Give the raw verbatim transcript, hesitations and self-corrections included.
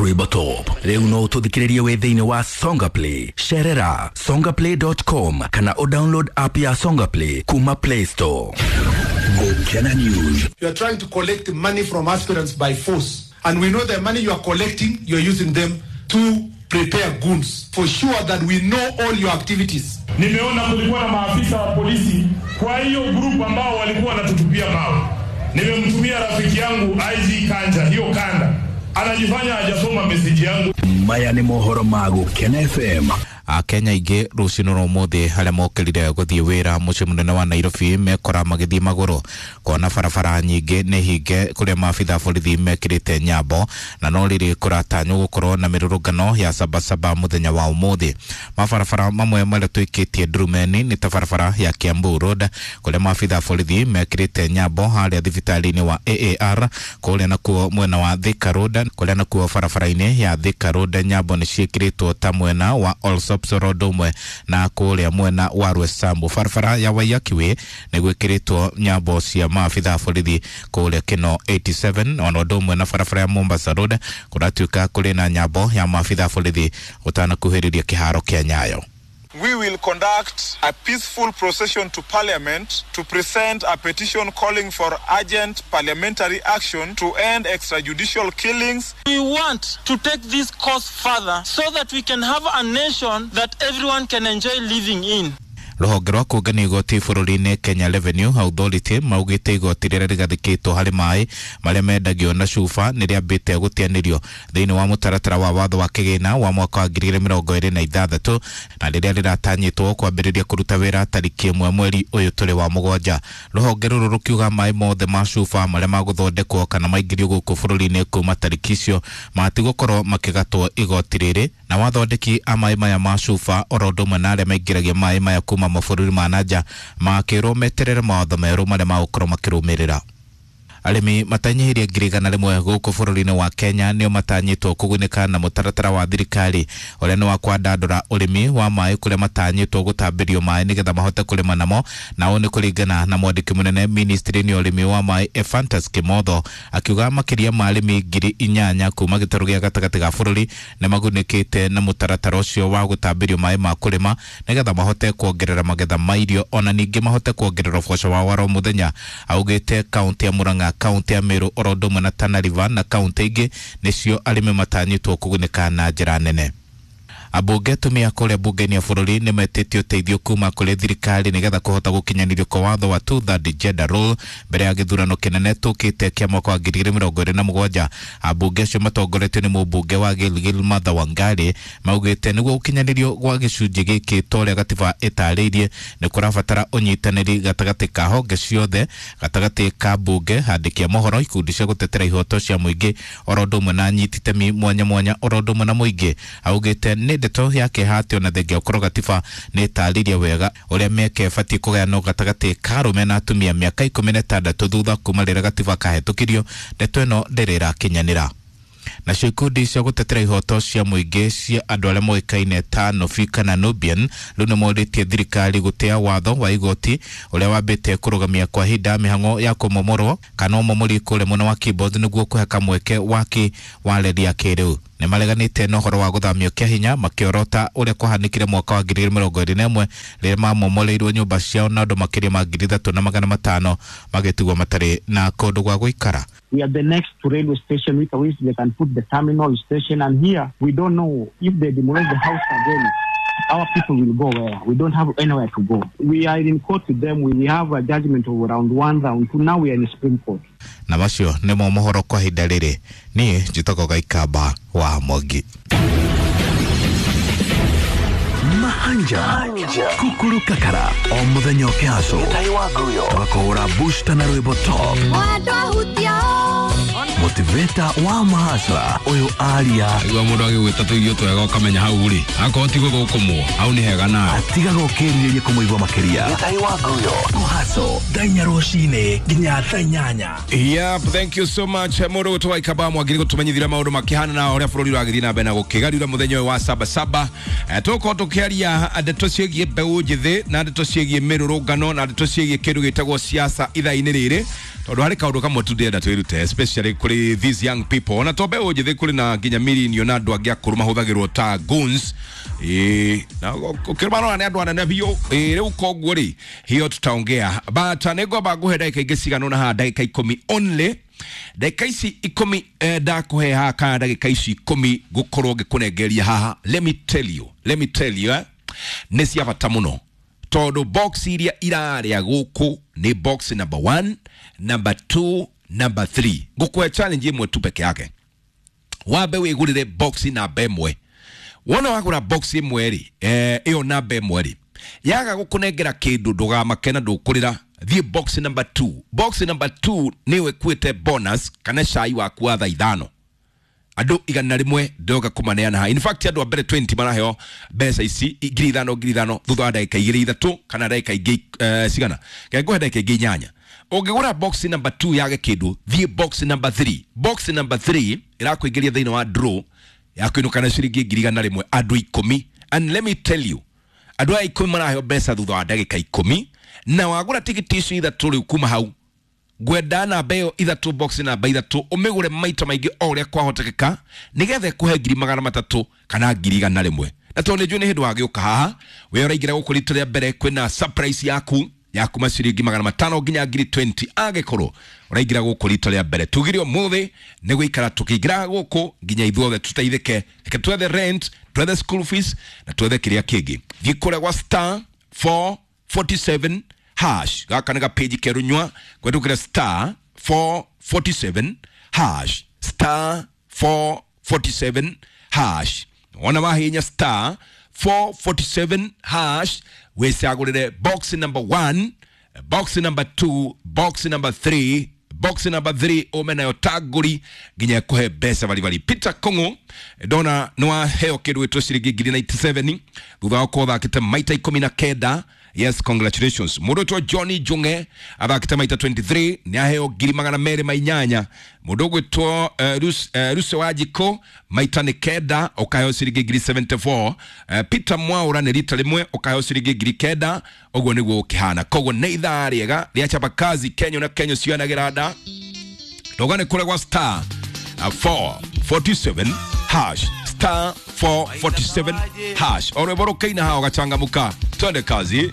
Rwĩmbo Top. Rĩu no ũtũthikĩrĩrie wĩ thĩinĩ wa Songa Play. Cerera songaplay dot com kana o download app ya Songa Play kuma Play Store. Gukena News. You are trying to collect money from aspirants by force, and we know the money you are collecting, you are using them to prepare goons for sure that we know all your activities. Nimeona kulikuwa na maafisa wa polisi kwa hiyo group ambao walikuwa wanatutupia mawe. Nimemtumia rafiki yangu I G Kanja hiyo kanda. Anajifanya hajasoma message yangu. Maya ni mohoro ma Gukena F M. Akenya ingĩ rũcinĩ rwa ũmũthĩ arĩa mokĩrire gũthiĩ wĩra mũciĩ mũnene wa Nairobi mekora magĩthiĩ magũrũ kuona barabara nyingĩ nĩ hinge kũrĩa maabitha borithi mekĩrĩte nyambo na no rĩrĩ kũratanywo gũkorwo na mĩrũrũngano ya sabasaba mũthenya wa ũmũthĩ. Mabarabara mamwe marĩa twĩkĩtie ndurumeni nĩ ta barabara ya Kiambu Road kũrĩa maabitha borithi mekĩrĩte nyambo harĩa thibitarĩ-inĩ wa A A R, kũrĩa nakuo mwena wa Thika Road, kũrĩa nakuo barabara-inĩ ya Thika Road nyambo nĩ ciĩkĩrĩtwo ta mwena wa Allsops Road umwe na kũrĩa mwena wa Rwesambu. Barabara ya Waiyaki Way nĩ gwĩkĩrĩtwo nyambo cia maabitha borithi kũrĩa Kino eighty-seven, ona ũndũ ũmwe na barabara ya Mombasa Road kũratuĩka kũrĩ na nyambo ya maabitha borithi ũtanakuhĩrĩria kĩharo kĩa Nyayo. We will conduct a peaceful procession to Parliament to present a petition calling for urgent parliamentary action to end extrajudicial killings. We want to take this cause further so that we can have a nation that everyone can enjoy living in. Rũhonge rwa kũngania igoti bũrũri-inĩ Kenya Revenue Authority maugĩte igoti rĩrĩa rĩgathĩkĩtwo harĩ maĩ marĩa mendagio na cuba nĩ rĩambĩte gũteanĩrio thĩinĩ wa mũtaratara wa watho wa kĩgĩna wa mwaka wa ngiri igĩrĩ mĩrongo ĩrĩ na ithathatũ na rĩrĩa rĩratanyĩtwo kwambĩrĩria kũruta wĩra tarĩki ĩmwe mweri ũyũ tũrĩ wa mũgwanja. Rũhonge rũrũ rũkiuga maĩ mothe ma cuba marĩa magũthondekwo kana maingĩrio gũkũ bũrũri-inĩ kuma tarĩki icio matigũkorwo makĩgatwo igoti rĩrĩ, na wathondeki a maĩ maya ma cuba oro ũndũ ũmwe na arĩa maingĩragia maĩ maya kuma mabũrũri ma nanja makĩrwo meterere mawatho merũ marĩa magũkorwo makĩrũmĩrĩra. Arĩmi matanyihĩrie ngiri igana rĩmwe gũkũ bũrũri-inĩ wa Kenya nĩo matanyĩtwo kũgunĩka na mũtaratara wa thirikari ũrĩa nĩ wa kwandandũra ũrĩmi wa maĩ kũrĩa matanyĩtwo gũtambĩrio maĩ nĩgetha mahote kũrĩma namo, na ũũ nĩ kũringana na mwandĩki mũnene ministry-inĩ ya ũrĩmi wa maĩ Ephantus Kimotho akiuga makĩria ma arĩmi ngiri inyanya kuma gĩtarũ gĩa gatagatĩ ga bũrũri nĩ magunĩkĩte na mũtaratara ũcio wa gũtambĩrio maĩ ma kũrĩma nĩgetha mahote kuongerera magetha ma irio ona ningĩ mahote kuongerera ũboco wao wa oro mũthenya. Augĩte kaũntĩ ya Murang'a, kaunti ya Meru oro ũndũ ũmwe na Tana River na kaunti ingĩ nĩcio arĩmi matanyĩtwo kũgunĩka na njĩra nene. Ambunge atumia kũrĩa bunge-inĩ ya bũrũri nĩ metĩtie ũteithio kuma kũrĩ thirikari nĩgetha kũhota gũkinyanĩrio kwa watho wa two third gender rule mbere ya gĩthurano kĩnene tũkĩte kĩa mwaka wa ngiri igĩrĩ mĩrongo ĩrĩ na mũgwanja. Ambunge acio matongoretio nĩ mũmbunge wa Gilgil Martha Wangari maugĩte nĩguo gũkinyanĩrio gwa gĩcunjĩ gĩkĩ ta ũrĩa gatiba ĩtarĩirie nĩ kũrabatara ũnyitanĩri gatagatĩ ka honge ciothe, gatagatĩ ka mbunge, handĩki a mohoro, ikundi cia gũtetera ihoto cia mũingĩ oro ũndũ ũmwe na anyiti itemi mwanya mwanya oro ũndũ ũmwe na mũingĩ. Augĩte nĩ ndeto ya kĩeha atĩ ona thengia gũkorwo gatiba nĩ ĩtarĩirie wega ũrĩa mĩeke ĩbatiĩ kũgayanwo gatagatĩ ka arũme na atumia mĩaka ikũmi na ĩtandatũ thutha kuma rĩrĩa gatiba kahĩtũkirio, ndeto ĩno ndĩrĩ ĩrakinyanĩra. Nacio ikundi cia gũtetera ihoto cia mũingĩ cia andũ arĩa moĩkaine ta Nobi kana Nubian rĩu nĩ morĩtie thirikari gũtĩa watho wa igoti ũrĩa wambĩte kũrũgamia kwa ihinda mĩhang'o ya kũmomorwo kana ũmomori kũrĩa mwena wa Kibos nĩguo kũhe kamweke waki wa reri ya kĩrĩu. Nĩ mareganĩte na ũhoro wa gũthamio kĩa hinya makĩorota ũrĩa kwahanĩkire mwaka wa ngiri igĩrĩ mĩrongo ĩrĩ na ĩmwe rĩrĩa mamomoreirwo nyũmba ciao na andũ makĩria ma ngiri ithatũ na magana matano magĩtigwo matarĩ na kũndũ gwa gũikara. We are the next to railway station, which which they can put the terminal station, and here we don't know if they demolish the house again, our people will go where? We don't have anywhere to go. We are in court with them. We have a judgment of round one, round two. Now we are in the Supreme Court. Na macio nĩmo mohoro kwa ihinda rĩrĩ. Niĩ njĩtagwo Gaikamba wa Mwangi. Mahanja Kukuru Kakara o muthenya ũkĩhaco tũgakũhũra booster na rwĩmbo top motivator wa mahasra ũyũ aria igua mũndũ agĩgwĩta tũirio twega ũkamenya hau rĩ akorwo ti gũthũkũmwo hau nĩ hega nawe atigaga ũkĩrirĩria kũmũigua makĩria kũhaco thaa inya rũcinĩ nginya thaa inyanya. Yep, thank you so much mũndũ ũgwĩtwo Waikamba Mwangi gũtũmenyithia maũndũ makĩhana na ũrĩa bũrũri ũragĩthiĩ na mbere na gũkĩgariũra mũthenya ũyũ wa saba saba. Tũgũkorwo tũkĩaria ndeto ciĩgiĩ mbeũ njĩthĩ na ndeto ciĩgiĩ mĩrũrũngano na ndeto ciĩgiĩ kĩndũ gĩtagwo siasa ithaa-inĩ rĩrĩ. Tondu hari kaundu kamwe tu ndĩrenda twĩrute, especially kũrĩ these young people. Ona to mbeũ njĩthĩ, kũrĩ na nginya millennial na andũ angĩ akũrũ mahũthagĩrwo ta goons. Ĩĩ, na ũkĩmarora nĩ andũ anene biũ. Ĩĩ, rĩu koguo rĩ, hiyo tutaongea, but nĩngwamba ngũhe ndagĩka ingĩ cigana ũna haha, ndagĩka ikũmi only. Ndagĩka ici ikũmi eh, ndakũhe haha, kana ndagĩka ici ikũmi ngũkorwo ngĩkũnengeria haha, let me tell you, let me tell you, eh, nĩ cia bata mũno, tondũ box iria irarĩa gũkũ nĩ box number one, number two, number three. Ngũkũhe challenge ĩmwe tu peke yake: wambe wĩgũrĩre box namba ĩmwe. Wona wagũra box ĩmwe rĩ, eh, ĩyo namba ĩmwe rĩ, yaga gũkũnengera kĩndũ, ndũgamake na ndũkũrĩra. Thiĩ box number two. Box number two nĩyo ĩkuĩte bonus kana cai waku wa thaa ithano. Andũ igana rĩmwe ndoga kũmaneana haha. In fact, andũ a mbere mĩrongo ĩrĩ maraheo mbeca ici ngiri ithano, ngiri ithano, thutha wa ndagĩka igĩrĩ, ithatũ, kana ndagĩka ingĩ eh, cigana ngũhe ndagĩka ingĩ inyanya. Ũngĩgũra box number two yage kĩndũ, thiĩ box number three. Box number three ĩrakũingĩria thĩinĩ wa draw ya kũinũka na ciringi ngiri igana rĩmwe, andũ ikũmi. And let me tell you, andũ aya ikũmi maraheo mbeca thutha wa ndagĩka ikũmi. Na wagũra tigiti icio ithatũ, rĩu kuma hau ngwenda namba ĩyo ithatũ, box namba ithatũ, ũmĩgũre maita maingĩ o ũrĩa kwahotekeka, nĩgetha ĩkũhe ngiri magana matatũ kana ngiri igana rĩmwe. Na tondũ nĩ njũĩ nĩ hĩndĩ wagĩũka haha, we ũraingĩra gũkũ rita rĩa mbere, kwĩna surprise yaku ya kuma ciringi magana matano nginya ngiri mĩrongo ĩrĩ, angĩkorwo ũraingĩra gũkũ rita rĩa mbere. Tugire ũmũthĩ nĩ gũikara tũkĩingĩraga gũkũ nginya ithuothe tũteithĩke. Reke twethe rent, twethe school fees na twethe kĩrĩa kĩngĩ. Thiĩ kũrĩa gwa star four forty-seven hash. Gaka nĩ gapĩnji kerunywa kwendũkĩra star four forty-seven hash, star four forty-seven hash. Wona wahinya star four forty-seven hash, wĩcagũrĩre box number one, box number two, box number three. Box number three ume nayo tagũri nginya ĩkũhe mbeca baribari. Peter Kong'o, ndona nĩ waheo kĩndũ gĩtwo ciringi ngiri mĩrongo kenda na mũgwanja thutha wa gũkorwo ũthakĩte maita ikũmi na kenda. Yes, congratulations. Mũndũ ũtwo Johnny Junge athakĩte maita mĩrongo ĩrĩ na ithatũ, nĩ aheo ngiri magana merĩ ma inyanya. Mũndũ ũgwĩtwo uh, Rus, uh, Ruse wa Jiko, maita nĩ kenda, ũkaheo ciringi ngiri mĩrongo mũgwanja na inya. uh, Peter Mwaura nĩ rita rĩmwe, ũkaheo ciringi ngiri kenda. Ũguo nĩguo ũkĩhana. Koguo nĩ ithaa rĩega rĩa chapa kazi. Kenya na Kenya cionagĩra nda ndogane kũrĩa gwa star uh, four forty-seven hash, star four forty-seven hash. O rwĩmbo rũkĩina haha ũgachangamka. Twende kazi.